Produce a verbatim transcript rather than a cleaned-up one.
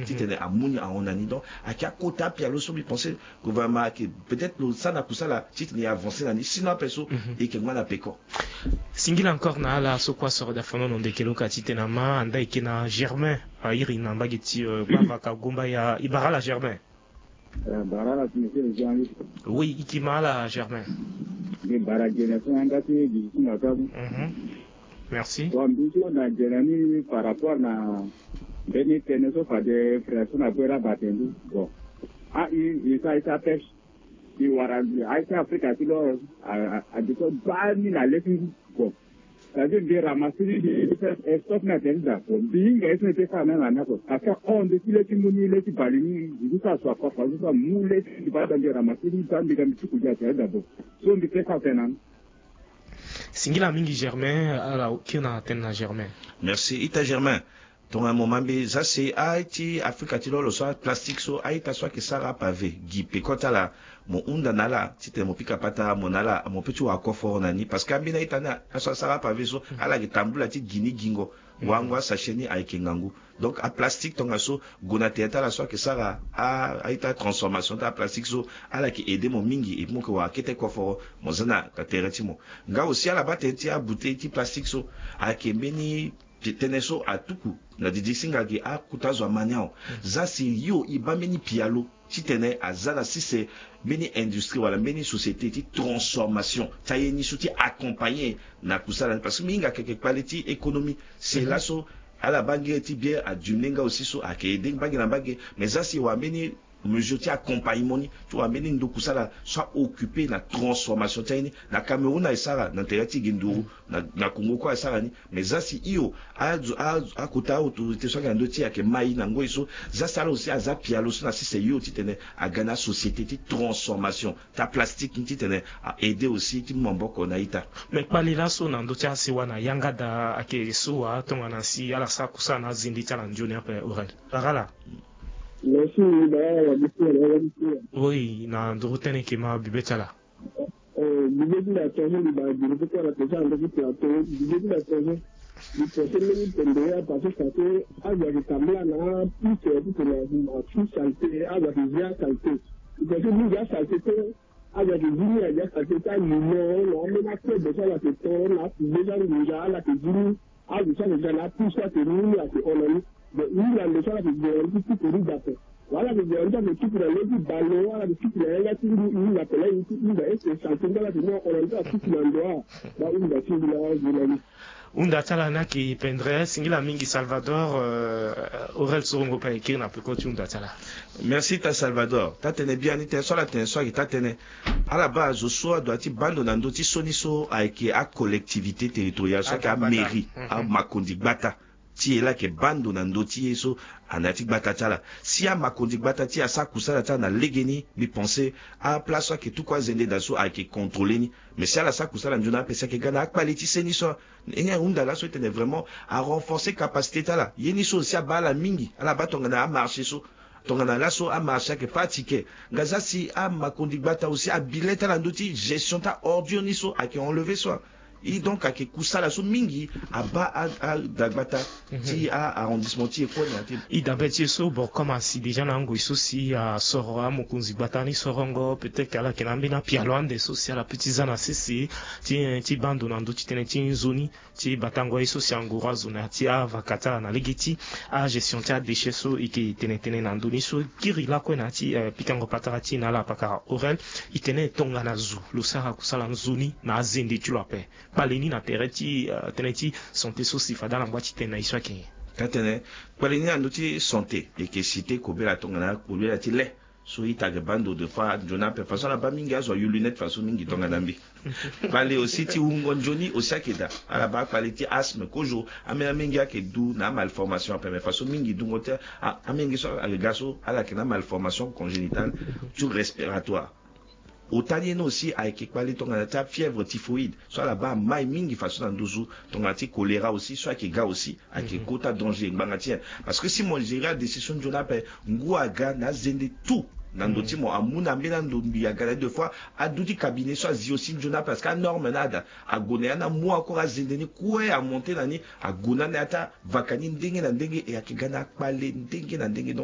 titene amu ni ahon na ni. Donc ayeke akota apialo so mbi pense gouvernement ayeke peut-être lo sara na kusala titene e avancer na ni, sinon ape so e yeke ngba na peko. Singila encore na ala so kue asoro daa fano na ndeke lo ka titene ama anda eke na Germain, airi na mbage ti gbavaka gumba ya e bara ala Germain. Bara ala ti meke le jangi. Oui, e yeke ma ala Germain. Mbi bara gene so na yanga ti bizi ti makabu. Merci. Bon, mbi so na gene ni par rapport na mbeni tënë so fade frère so na bue laa bate ndu. Bon, a i i sa i sa pêche. I wara a i sa Afrika ti lo a a a de so baa ni na le ti ngu. Bon, c'est-à-dire mbi ramasse ni, mbi stop na tene daa. Bon, mbi hinga ye so mbi peut sara na ala ni oko. Parce que hon nde ti le ti ngu ni, le ti bale ni, mbi so asua kua fa so so amu le ti baa daa, mbi ramasse ni daa, mbi ga mbi tuku gi atene daa. Bon, so mbi peut sara tene na ni. Singila mingi Germain, ala kiri na tene na Germain. Merci ita Germain. Tongana mo ma mbi za si a ti Afrika ti lo lo so aplastique so a-ita so ayeke sara apave gi peko ti ala, mo hunda na ala titene mo pika pata mo na ala mo peut ti wara koforo na ni. Parce que ambeni a-ita ni aso asara apave so ala yeke tambula ti gi ni gingo. Wango asachet ni ayeke ngangu. Donc aplastique tongaso gue na tere ti ala so ayeke sara a-ita transformation ti aplastique so, ala yeke aider mo mingi et puis mo yeke wara kete koforo mo za na tere ti mo. Nga aussi ala baa tënë ti abouteille ti plastique so ayeke mbeni tënë so atuku na didi singa gi akota azo ama ni awe. Za si yo e baa mbeni pialo titene aza na sese mbeni industrie wala mbeni société ti transformation ti aye ni so ti accompagner na kusala ni. Parce que mbi hinga ayeke kpale ti économie. Si laso ala baa ngere ti bière adiminuer nga aussi so ayeke aider mbage na mbage. Mais za si e wara mbeni mesure ti accompagnement ni ti wara mbeni ndo kusala so a occuper na transformation ti aye ni. Na Cameroun aye sara na tere ti ge nduru, na na Congo kue aye sara ni. Mais za si hio a a akota autorité so ayeke na ndö ti e ayeke ma e na ngoi so, za si ala aussi aza pialo so na sese hio titene aga na asociété ti transformation ti aplastique ni titene a aider aussi ti mu maboko na ita. Mais kpale laso na ndö ti asewa na yanga daa ayeke so wa tongana si ala sara kusala na azende ti ala nzoni ape Aurel. Arala. Merci, Barala, merci, Barala, merci. Oui, na nduru tënë yeke ma bibe ti ala. Eh, bibe ti la tonge, mbi baa bibe ti ala tonge, ando ti la tonge, bibe ti la tonge. Mbi pense mbeni pende ya parce que ça fait azo ayeke tambula na piste ti tene na saleté, azo ayeke zi asaleté. Mbi pense mingi asaleté te, azo ayeke zi ni, azi asaleté ti alimo na ambeni akobe so ala yeke to na apuve ti angunza, ala yeke zi ni. Azo so ayeke ga na apusu ayeke mu ni ayeke hon na ni. Bon, e hinga ndo so ala yeke gue na ni ti tuku ni daa ape. Wala ala yeke gue na ni ti ayeke tuku na le ti bale, wala ala yeke tuku na yanga ti ngu, e hinga ape laa e ti hinga eke saleté nga ala yeke mu ahon na ni ti ala tuku na ndo. Abaa hunda ti ngu laa azo na ni. Hunda ti ala ni ayeke pendre. Singila mingi Salvador, euh, Aurel Sorongo ape kiri na peko ti hunda ti ala. Merci ta Salvador. Taa-tënë biani tënë so ala tene so ayeke taa-tënë. Ala baa azo so adoit ti baa ndo na ndö ti sioni so ayeke acollectivité territoriale so ayeke amairie, amakonzi gbata ti e laa ayeke baa ndo na ndö ti e so, na ya ti gbata ti ala. Si amakonzi gbata ti e asara kusala ti ala na legeni, mbi pense aplace so ayeke tuku azende daa so ayeke contrôler ni. Mais si ala sara kusala nzoni ape si ayeke ga na akpale ti seni so. Nyen ahunda laso e tene vraiment arenforcer capacité ti ala. Ye ni so aussi abaa ala mingi, ala baa tongana amarché so. Tongana laso amarché ayeke pratiqué. Nga za si amakonzi gbata aussi abi le ti ala na ndö ti gestion ti aordure ni so ayeke enlever so. E donc ayeke kusala so mingi abaa a, a, dagbata ti a arrondissement ti e kue na ya ti e. E dabe ti e so, bon, comme asi déjà na angoi so si asoro amokonzi gbata ni sorongo, peut-être ala yeke na ambeni apialo ande so si ala peut ti za na sese ti, ti baa ndo na ndö ti tënë ti nzoni ti batango ye so si anguru azo na ya ti avaka ti ala na lege ti agestion ti adéchet so e yeke tene tënë na ndö ni so. Kiri lakue na ya ti, eh, pikango patara ti e na ala pakara Aurel. E tene tongana zo lo sara kusala nzoni na azende ti lo ape. Kpale ni na tere ti, eh, tënë ti santé so si fade ala ngba ti tene na e so ayeke nyen? Taa-tënë, kpale ni na ndö ti santé e yeke cité kobela tongana kobela ti le. So ita ayeke baa ndo de fois nzoni ape façon ala baa mingi azo ayu lunette façon mingi tongana mbi. Kpale aussi ti wungo nzoni aussi ayeke daa. Ala baa kpale ti asthme kozo, ambeni amenge ayeke du na amalformation ape, mais façon mingi dungo ti a, amenge so ayeke ga so ala yeke na amalformation congénitale ti respiratoire. Ota ni ye ni aussi ayeke kpale tongana ti afièvre typhoïde so ala baa amai mingi façon na nduzu tongana ti choléra aussi so ayeke ga aussi. Ayeke kota danger ngbanga ti nyen? Parce que si mo gérer adécision nzoni ape, ngu aga na azende tout na ndo ti mo, amu na ambeni ando mbi aga na ye deux fois, adu ti cabinet so azi aussi nzoni ape parce que anorme ni ada ague na ya ni amu encore azende ni kue amonté na ni ague na ni ata vaka ni ndenge na ndenge, e ayeke ga na akpale ndenge na ndenge. Donc